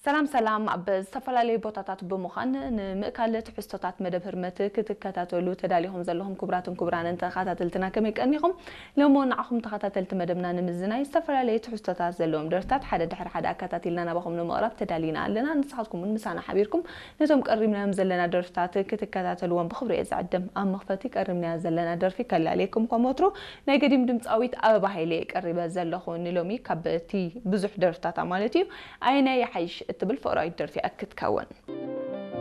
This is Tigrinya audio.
ሰላም ሰላም፣ ኣብ ዝተፈላለዩ ቦታታት ብምዃን ንምእካል ትሕዝቶታት መደብ ህርመት ክትከታተሉ ተዳሊኹም ዘለኹም ክቡራትን ክቡራንን ተኸታተልትና ከመይ ቀኒኹም? ሎሞ ንዓኹም ተኸታተልቲ መደብና ንምዝናይ ዝተፈላለዩ ትሕዝቶታት ዘለዎም ደርፍታት ሓደ ድሕሪ ሓደ ኣከታቲልና ናባኹም ንምቕራብ ተዳሊና ኣለና። ንስኻትኩም እውን ምሳና ሓቢርኩም ነቶም ቀሪብናዮም ዘለና ደርፍታት ክትከታተልዎም ብኽብሪ እየ ዝዕድም። ኣብ መኽፈቲ ቀሪብናዮ ዘለና ደርፊ ከላልየኩም ከም ወትሩ ናይ ገዲም ድምፃዊት ኣበባ ሃይለ እየ ቀሪበ ዘለኹ። ንሎሚ ካብ እቲ ብዙሕ ደርፍታታ ማለት እዩ ኣየናይ ይሓይሽ እትብል ፍቕራዊት ደርፊ እያ ክትከውን።